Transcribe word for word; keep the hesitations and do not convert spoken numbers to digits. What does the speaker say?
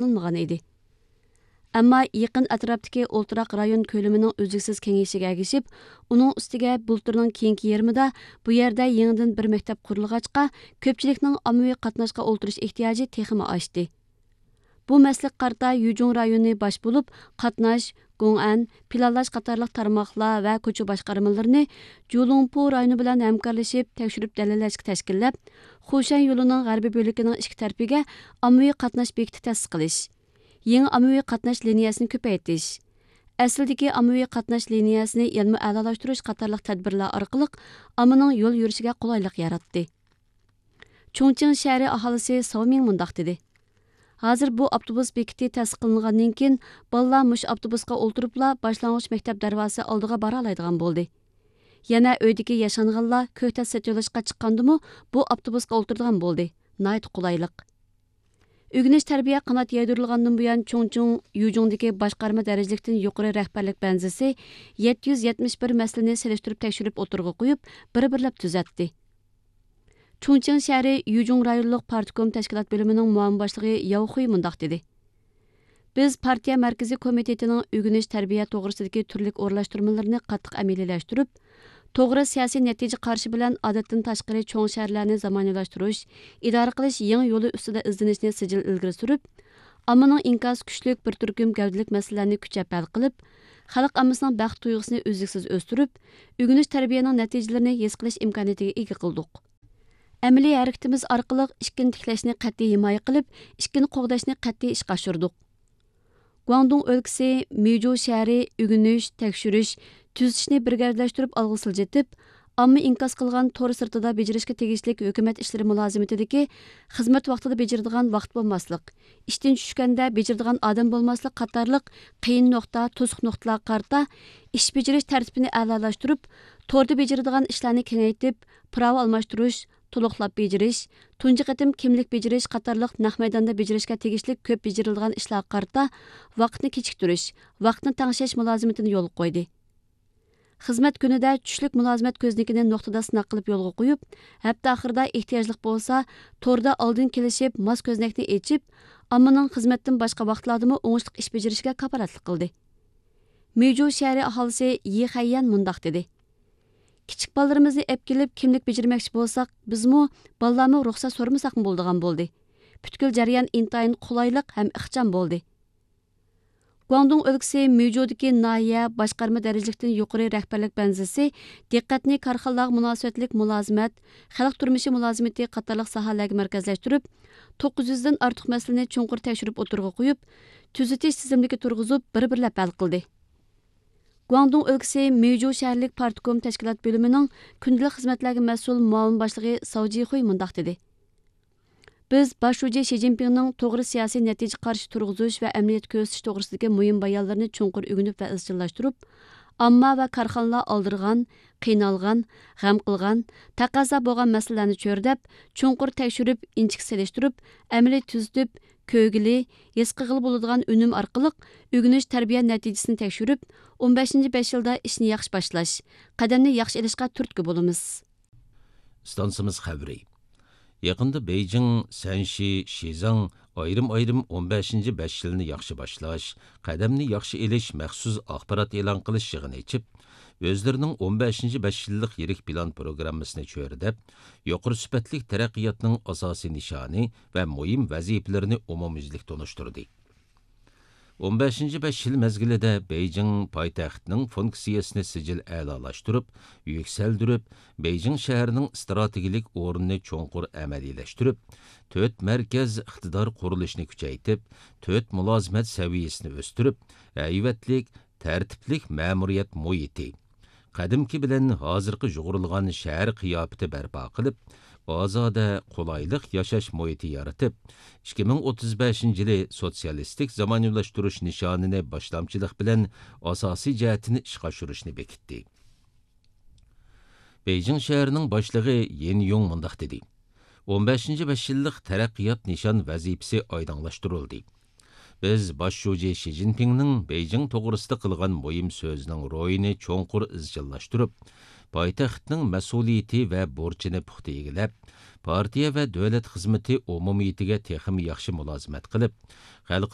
قىلىنمىغان ئىدى. ئەمما يېقىن ئەتراپتىكى ئولتۇراق رايون كۆلىمىنىڭ ئۈزلۈكسىز كېڭىيىشىگە ئەگىشىپ، ئۇنىڭ ئۈستىگە بۇلتۇرنىڭ كېيىنكى يېرىمىدا بۇ يەردە يېڭىدىن بىر مەكتەپ قۇرۇلغاچقا، كۆپچىلىكنىڭ ئاممىۋى قاتناشقا ئولتۇرۇش ئېھتىياجى تېخىمۇ ئاشتى. بۇ مەسىلىگە قارىتا يۈجۇڭ رايونى باش بولۇپ، قاتناش، گوڭئەن، پىلانلاش قاتارلىق تارماقلار ۋە كوچا باشقارمىلىرىنى جۇلۇڭپۇ رايونى بىلەن ھەمكارلىشىپ تەكشۈرۈپ دەلىللەشكە تەشكىللەپ، خۇشەن يولىنىڭ غەربىي بۆلىكىنىڭ ئىككى تەرىپىگە ئاممىۋى قاتناش بېكىتى تەسىس قىلىش، يېڭى ئاممىۋى قاتناش لىنىيەسىنى كۆپەيتىش، ئەسلىدىكى ئاممىۋى قاتناش لىنىيەسىنى يەنىمۇ ئەلالاشتۇرۇش قاتارلىق تەدبىرلەر ئارقىلىق ئاممىنىڭ يول يۈرۈشىگە قولايلىق ياراتتى. چۇڭچىڭ شەھىرى ئاھالىسى ساۋ مىڭ مۇنداق دېدى: ھازىر بۇ ئاپتوبۇس بېكىتى تەسىس قىلىنغاندىن كېيىن، بالىلار مۇشۇ ئاپتوبۇسقا ئولتۇرۇپلا باشلانغۇچ مەكتەپ دەرۋازىسى ئالدىغا بارالايدىغان بولدى. يەنە ئۆيدىكى ياشانغانلار كۆكتات سېتىۋېلىشقا چىققاندىمۇ بۇ ئاپتوبۇسقا ئولتۇرىدىغان بولدى. ناھايىتى قولايلىق. ئۆگىنىش تەربىيە قانات يايدۇرۇلغاندىن بۇيان، چۇڭچىڭ يۈجۇڭدىكى باشقارما دەرىجىلىكتىن يۇقىرى رەھبەرلىك بەنزىسى يەتتە يۈز يەتمىش بىر مەسىلىنى سېلىشتۇرۇپ تەكشۈرۈپ ئوتتۇرىغا قويۇپ، بىر-بىرلەپ تۈزەتتى. چۇڭچىڭ شەھىرى يۈجۇڭ رايونلۇق پارتكوم تەشكىلات بۆلۈمىنىڭ مۇئاۋىن باشلىقى ياۋ خۇي مۇنداق دېدى: بىز پارتىيە مەركىزىي كومىتېتىنىڭ ئۆگىنىش تەربىيە توغرىسىدىكى تۈرلۈك ئورۇنلاشتۇرمىلىرىنى قاتتىق ئەمەلىيلەشتۈرۈپ، توغرا سىياسىي نەتىجە قارىشى بىلەن ئادەتتىن تاشقىرى چوڭ شەھەرلەرنى زامانىۋىلاشتۇرۇش، ئىدارە قىلىش يېڭى يولى ئۈستىدە ئىزدىنىشنى سىجىل ئىلگىرى سۈرۈپ، ئاممىنىڭ ئىنكاسى كۈچلۈك بىر تۈركۈم گەۋدىلىك مەسىلىلەرنى كۈچەپ ھەل قىلىپ، خەلق ئاممىسىنىڭ بەخت تۇيغۇسىنى ئۈزلۈكسىز ئۆستۈرۈپ، ئۆگىنىش تەربىيەنىڭ نەتىجىلىرىنى ھېس قىلىش ئىمكانىيىتىگە ئىگە قىلدۇق. ئەمەلىي ھەرىكىتىمىز ئارقىلىق ئىككىنى تىكلەشنى قەتئىي ھىمايە قىلىپ، ئىككىنى قوغداشنى قەتئىي ئىشقا ئاشۇردۇق. گۇاڭدۇڭ ئۆلكىسى مىجۇ شەھىرى ئۆگىنىش، تەكشۈرۈش، تۈزىتىشنى بىر گەۋدىلەشتۈرۈپ ئالغا سىلجىتىپ، ئامما ئىنكاس قىلغان تور سىرتىدا بېجىرىشكە تېگىشلىك ھۆكۈمەت ئىشلىرى مۇلازىمىتىدىكى خىزمەت ۋاقتىدا بېجىرىدىغان ۋاقىت بولماسلىق، ئىشتىن چۈشكەندە بېجىرىدىغان ئادەم بولماسلىق قاتارلىق قىيىن نۇقتا، توسۇق نۇقتىلارغا قارىتا ئىش بېجىرىش تەرتىپىنى ئەلالاشتۇرۇپ، توردا بېجىرىدىغان ئىشلارنى كېڭەيتىپ، پىراۋا ئالماشتۇرۇش، تولۇقلاپ بېجىرىش، تۇنجى قېتىم كىملىك بېجىرىش قاتارلىق نەق مەيداندا بېجىرىشكە تېگىشلىك كۆپ بېجىرىلىدىغان ئىشلارغا قارىتا ۋاقىتنى كېچىكتۈرۈش، ۋاقىتنى تەڭشەش مۇلازىمىتىنى يولغا قويدى. خىزمەت كۈنىدە چۈشلۈك مۇلازىمەت كۆزنىكىنى نۇقتىدا سىناق قىلىپ يولغا قويۇپ، ھەپتە ئاخىرىدا ئېھتىياجلىق بولسا، توردا ئالدىن كېلىشىپ ماس كۆزنەكنى ئېچىپ، ئاممىنىڭ خىزمەتتىن باشقا ۋاقىتلاردىمۇ ئوڭۇشلۇق ئىش بېجىرىشىگە كاپالەتلىك قىلدى. مېجۇ شەھىرى ئاھالىسى يى خەييەن مۇنداق دېدى: كىچىك بالىلىرىمىزنى ئەپ كېلىپ كىملىك بېجىرمەكچى بولساق، بىزمۇ، بالىلارمۇ رۇخسەت سورىمىساقمۇ بولىدىغان بولدى. پۈتكۈل جەريان ئىنتايىن قولايلىق ھەم ئىخچام بولدى. گۇاڭدۇڭ ئۆلكىسى مېجۇدىكى ناھىيە باشقارما دەرىجىلىكتىن يۇقىرى رەھبەرلىك بەنزىسى دىققەتنى كارخانىلارغا مۇناسىۋەتلىك مۇلازىمەت، خەلق تۇرمۇشى مۇلازىمىتى قاتارلىق ساھەلەرگە مەركەزلەشتۈرۈپ، توققۇز يۈزدىن ئارتۇق مەسىلىنى چوڭقۇر تەكشۈرۈپ ئوتتۇرىغا قويۇپ، تۈزىتىش تىزىملىكى تۇرغۇزۇپ، بىر-بىرلەپ ھەل قىلدى. گۇاڭدۇڭ ئۆلكىسى مېجۇ شەھەرلىك پارتكوم تەشكىلات بۆلۈمىنىڭ كۈندىلىك خىزمەتلەرگە مەسئۇل مۇئاۋىن باشلىقى ساۋ جىخۇي مۇنداق دېدى: بىز باش شۇجى شى جىنپىڭنىڭ توغرا سىياسىي نەتىجە قارىشى تۇرغۇزۇش ۋە ئەمەلىيەتكە كۆرسىتىش توغرىسىدىكى مۇھىم بايانلىرىنى چوڭقۇر ئۆگىنىپ ۋە ئىزچىللاشتۇرۇپ، ئامما ۋە كارخانىلار ئالدىرىغان، قىينالغان، غەم قىلغان، تەقەززا بولغان مەسىلىلەرنى چۆرىدەپ، چوڭقۇر تەكشۈرۈپ، ئىنچىكە سېلىشتۇرۇپ، ئەمەلىي تۈزىتىپ، كۆرگىلى، ھېس قىلغىلى بولىدىغان ئۈنۈم ئارقىلىق ئۆگىنىش تەربىيە نەتىجىسىنى تەكشۈرۈپ، ئون بەشىنچى بەش يىلدا ئىشنى ياخشى باشلاش، قەدەمنى ياخشى ئېلىشقا تۈرتكە بولىمىز. ئىستانسىمىز خەۋىرى. يېقىندا بېيجىڭ، سەنشى، شىزاڭ ئايرىم-ئايرىم ئون بەشىنچى بەش يىلنى ياخشى باشلاش، قەدەمنى ياخشى ئېلىش مەخسۇس ئاخبارات ئېلان قىلىش يىغىنى ئېچىپ، ئۆزلىرىنىڭ ئون بەشىنچى بەش يىللىق يىرىك پىلان پروگراممىسىنى چۆرىدەپ، يۇقىرى سۈپەتلىك تەرەققىياتنىڭ ئاساسىي نىشانى ۋە مۇھىم ۋەزىپىلىرىنى ئومۇميۈزلۈك تونۇشتۇردى. ئون بەشىنچى بەش يىل مەزگىلىدە بېيجىڭ پايتەختنىڭ فۇنكسىيەسىنى سىجىل ئەلالاشتۇرۇپ، يۈكسەلدۈرۈپ، بېيجىڭ شەھىرىنىڭ ئىستراتېگىيىلىك ئورنىنى چوڭقۇر ئەمەلىيلەشتۈرۈپ، تۆت مەركەز ئىقتىدار قۇرۇلۇشىنى كۈچەيتىپ، تۆت مۇلازىمەت سەۋىيەسىنى ئۆستۈرۈپ، ھەيۋەتلىك، تەرتىپلىك مەمۇرىيەت مۇھىتى، قەدىمكى بىلەن ھازىرقى يۇغۇرۇلغان شەھەر قىياپىتى بەرپا قىلىپ، ئازادە، قولايلىق ياشاش مۇھىتى يارىتىپ، ئىككى مىڭ ئوتتۇز بەشىنچى يىلى سوتسىيالىستىك زامانىۋىلاشتۇرۇش نىشانىنى باشلامچىلىق بىلەن ئاساسىي جەھەتتىن ئىشقا ئاشۇرۇشنى بېكىتتى. بېيجىڭ شەھىرىنىڭ باشلىقى يىن يۇڭ مۇنداق دېدى: ئون بەشىنچى بەش يىللىق تەرەققىيات نىشان ۋەزىپىسى ئايدىڭلاشتۇرۇلدى. بىز باش شۇجى شى جىنپىڭنىڭ بېيجىڭ توغرىسىدا قىلغان مۇھىم سۆزىنىڭ روھىنى چوڭقۇر ئىزچىللاشتۇرۇپ، پايتەختنىڭ مەسئۇلىيىتى ۋە بۇرچىنى پۇختا ئىگىلەپ، پارتىيە ۋە دۆلەت خىزمىتى ئومۇمىيىتىگە تېخىمۇ ياخشى مۇلازىمەت قىلىپ، خەلقئارا